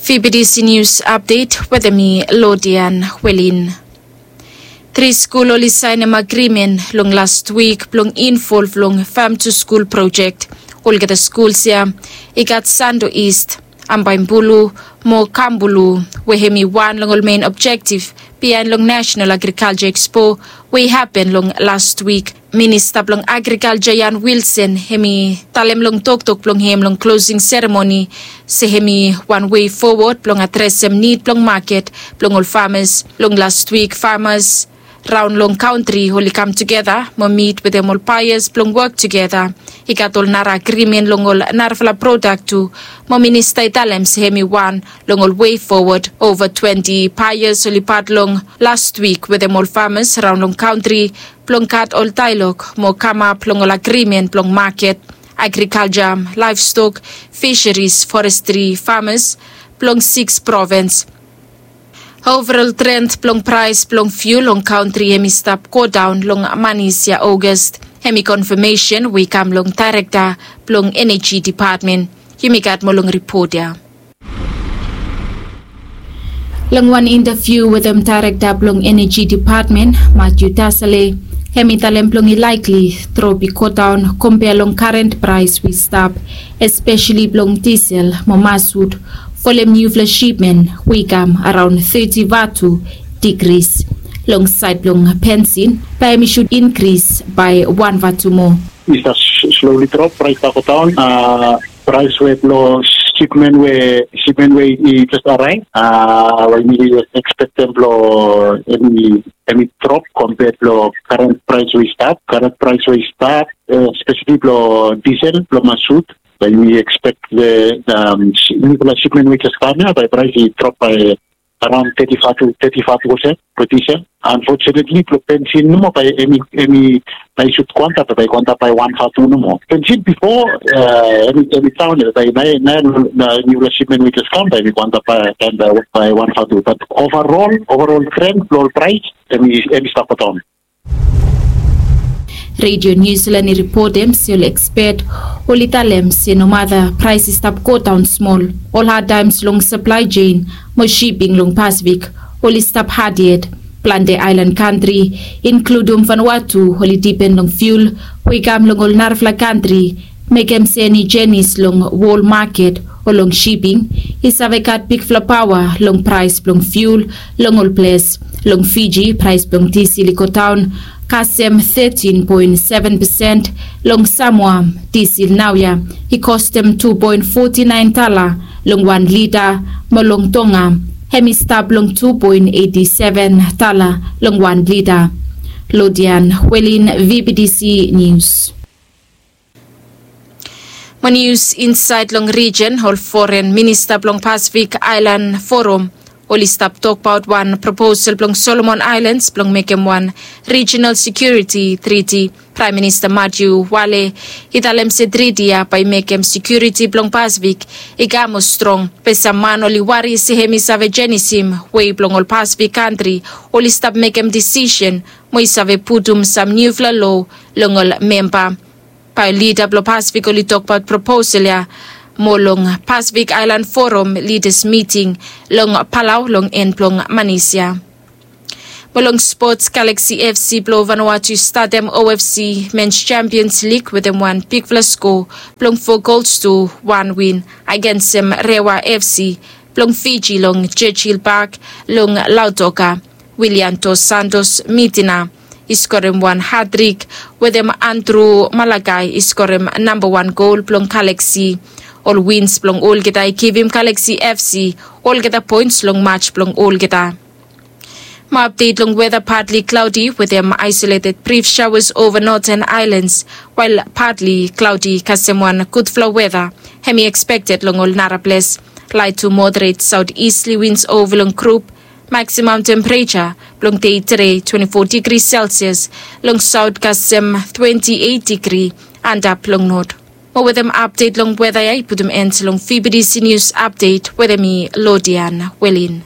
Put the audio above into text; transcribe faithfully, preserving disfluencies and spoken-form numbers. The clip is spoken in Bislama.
Fibidisi nius apdet wetem mi, Lodian Welin. Tri skul oli saenem agrimen long last wik blong involv long fam tu skul projek. Olgeta skuls ya i gat Sando East, Ambaimbulu mo Kambulu, we hem i wan long ol men objektif biaen long National Agriculture Expo we i hapen long last wik. Minista blong Agrikalja Jan Wilson hem i talem long toktok blong hem long klosing seremoni se hem i wan wei fowod blong adresem nid blong maket blong ol famas. Long last wik famas raon long kantri oli kam tugeta mo mit wetem ol baeas blong wok tugeta. I gat ol nara agrimen long ol narafala prodak tu, mo minista i talem se hem i wan long ol wei fowod. Ova twenti baeas oli pat long last wik wetem ol famas raon long kantri blong gat ol daelog mo kamap long ol agrimen blong maket, agrikalja, laevstok, fiseris, forestri, famas blong sikis provens. Ovarol tren blong praes blong fiul long kantri hem i stap godaon long manis ya Ogas. Hem i konfamesen we i kam long daerekta blong Eneji Depatmen. Yumi gat moa long ripot ya. Long wan intaviu wetem daerekta blong Eneji Depatmen, Matthew Tasale, hem i talem blong i laekli drop i godaon kompea long karen praes we i stap, espeseli blong disel mo masut, folem niufala sipmen we i kam araon teti vatu digris. Long saed blong bensin bae hem i sud inkris bae wan vatu moa. I stap sloli drop, praes i stap godaon. Praes we blong sipmen we sipmen we i jes araev, we yumi ekspektem blong hem i hem i drop kompea long karen praes we i stap, karen praes we i stap, espeseli blong disel blong masut. Bae yumi ekspek niufala sipmen we i jes kam ya bae praes i drop bae araon teti vatu, teti vatu olsem blong disel. Anfotunetli blong bensin nomo bae hem i hem i bae i sud go antap, bae i go antap bae wan vatu nomo. Bensin bifo hem i hem i daon ya, bae naoia naoia niufala sipmen we i jes kam bae hem i go antap bae bae wan vatu. Bat ovarol ovarol tren blong ol praes hem i hem i stap godaon. Redio Niu Silan i ripotem se ol ekspet oli talem se nomata praes i stap godaon smol, ol hadtaems long saplae jein mo siping long Pasifik oli stap had yet. Plante aelan kantri, inkludum Vanuatu, oli dipen long fiul we i kam long ol narafala kantri, mekem se eni jenis long wol maket o long siping i save gat bigfala paoa long praes blong fiul long ol ples. Long Fiji praes blong disel i godaon kasem tetin poen seven pesen. Long Samoa disel naoia i kostem tu poen foti naen dala long wan lita, mo long Tonga hem i stap long tu poen eiti seven dala long wan lita. Lodian Welin, V B D C Nius. Mo nius insaed long rijen, ol foren minista blong Pasifik Aelan Forum oli stap tokbaot wan proposal blong Solomon Aelans blong mekem wan rijinal sekiuriti triti. Praem Minista Matthew Wale i talem se triti ya bae i mekem sekiuriti blong Pasifik i kam moa strong. Be sam man oli wari se hem i save jenisim wei blong ol Pasifik kantri oli stap mekem disisen mo i save putum sam niufala loa long ol memba. Bae lida blong Pasifik oli tokbaot proposal ya mo long Pasifik Aelan Forum lidas miting long Palau long en blong manis ya. Mo long spots, Galaxy F C blong Vanuatu i statem O F C Mens Champions League wetem wan bigfala skoa blong fo gols tu wan win agensem Rewa F C blong Fiji long Churchill Park long Lautoka. William Dos Santos Mitina i skorem wan hatrik wetem Andrew Malakai i skorem nambawan gol blong Galaxy. Ol wins blong olgeta i givim Galaxy F C olgeta poens long maj blong olgeta. Mo apdet long weta, patli klaodi wetem aesoleted brif shaoas ova noten aelans, wael patli klaodi kasem wan gudfala weta hem i ekspekted long ol naraples. Laet tu moderet saot istli wins ova long grup. Maksimam tempereja blong dei tede twenti fo digri selsias, long saot kasem twenti eit digri antap long not. Mo wetem apdet long weta ya i putum en long V B D C Nius Apdet wetem mi, Lodian Welin.